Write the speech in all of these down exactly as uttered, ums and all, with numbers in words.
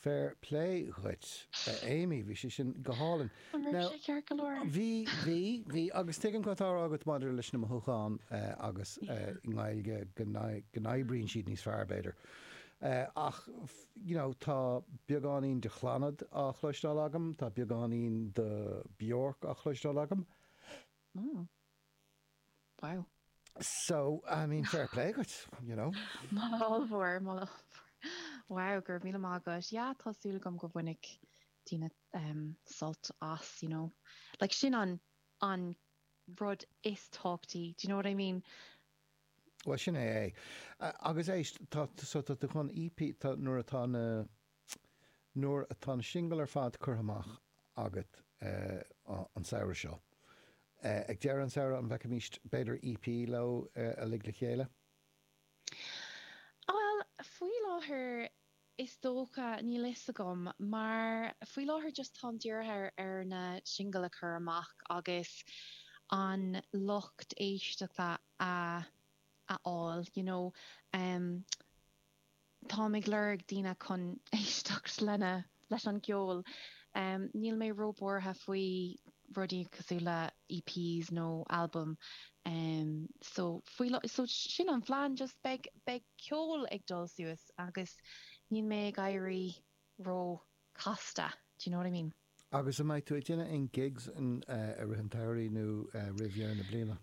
Fair play dhuit, Amy, bhí sé sin go hálainn. An raibh sé ceart go leor? Bhí, bhí, bhí, agus tuigim cad atá á rá agat maidir leis na mothúcháin agus i nGaeilge go n-oibríonn siad níos fearr, b'fhéidir. Ach, you know, tá beagáinín de Chlannad á chloisteáil agam, tá beagáinín de Bjork á chloisteáil agam. Oh. Wow. So, I mean, fair play dhuit, you know. Moladh ollmhór, moladh ollmhór. Wow, go raibh míle maith agat. Yeah, tá súil agam go bhainfidh daoine um, sult as, you know. Like, sin an, an rud is tábhachtaí, do you know what I mean? Well, sin é é. Agus éist, tá, so tá tú chun EP, tá, nuair atá na, nuair atá na singil ar fad curtha amach agat uh, an samhradh seo. Uh, ag deireadh an samhradh an bhfeicfimid b'fhéidir EP leo uh, uilig le chéile? Well, faoi láthair is dócha níl fhios agam, mar faoi láthair just táim dírithe ar, ar na singil a chur amach agus an lucht éisteachta a a fháil, you know. Um, táim ag lorg daoine chun éisteacht lena leis an gceol. Um, níl mé róbhuartha faoi rudaí cosúil le EPs nó album. Um, so faoi so sin an phlean just beidh beidh ceol ag dul suas agus níl mé ag éirí ró casta. Do you know what I mean? Agus an mbeidh tú ag déanamh aon gigs in, uh, i rith an tsamhraidh nó uh, roimh dheireadh na bliana?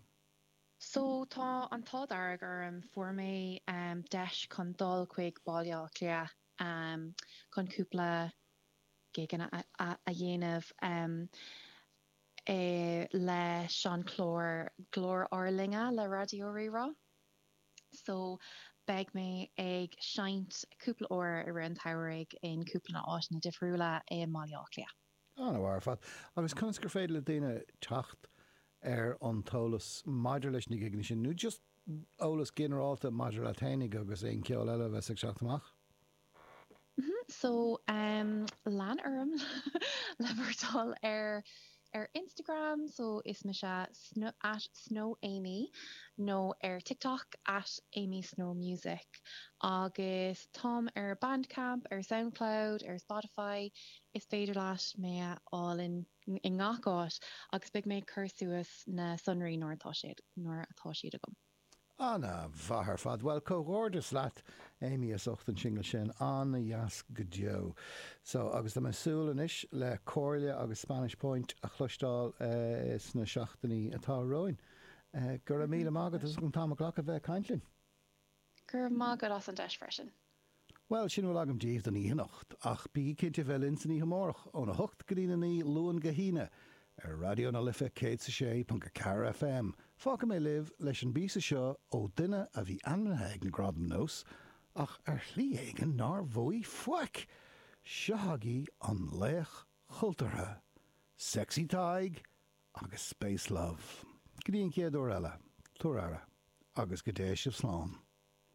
So tá an t-ádh dearg orm fuair mé um, deis chun dul chuig Baile Átha Cliath um, chun cúpla giganna a, a, a dhéanamh um, e, leis an chlár Glór Ár Linne le Raidió Rí-Rá. So beidh mé ag seinnt cúpla uair i rith an tsamhraidh in cúpla áiteanna difriúla i mBaile Átha Cliath. An-mhaith ar fad. Agus conas gur féidir le daoine teacht ar an t-eolas maidir leis na giganna sin, nó just eolas ginearálta maidir le féinig agus aon ceol eile a bheas ag teacht amach? So um, lean orm le bhur dtoil ar ar Instagram, so is mise snow, at Snow Amy nó ar TikTok at Amy Snow Music agus táim ar Bandcamp, ar SoundCloud, ar Spotify, is féidir leat mé a fháil in i ngach áit agus beidh mé ag cur suas na sonraí nuair atá siad nuair atá siad agam. An-mhaith ar fad. Well comhghairdeas leat Amy as ucht an single sin an-dheas go deo. So agus tá mé ag súil anois le Comhairle agus Spanish Point a chloisteáil uh, sna seachtainí atá romhainn. Uh, go raibh míle maith agat as an t-am a ghlacadh bheith ag caint linn. Gur má go as an deis freisin. Well sin bhfuil agam daoibh don oíche anocht, ach bí cinnte bheith linn san oíche amárach óna hocht go dtí a naoi Luan go hAoine ar Raidió na Life céad sa sé ponc a ceathair FM. Fágfaidh mé libh leis an bpíosa seo ó duine a bhí ainmnithe ag na Gradaim Nós ach ar shlí éigin nár bhuaigh faic. Seo agaibh an laoch cultúrtha, Sexy Tadhg agus Space Love. Go dtí an chéad uair eile, tabhair aire, agus go dté sibh slán.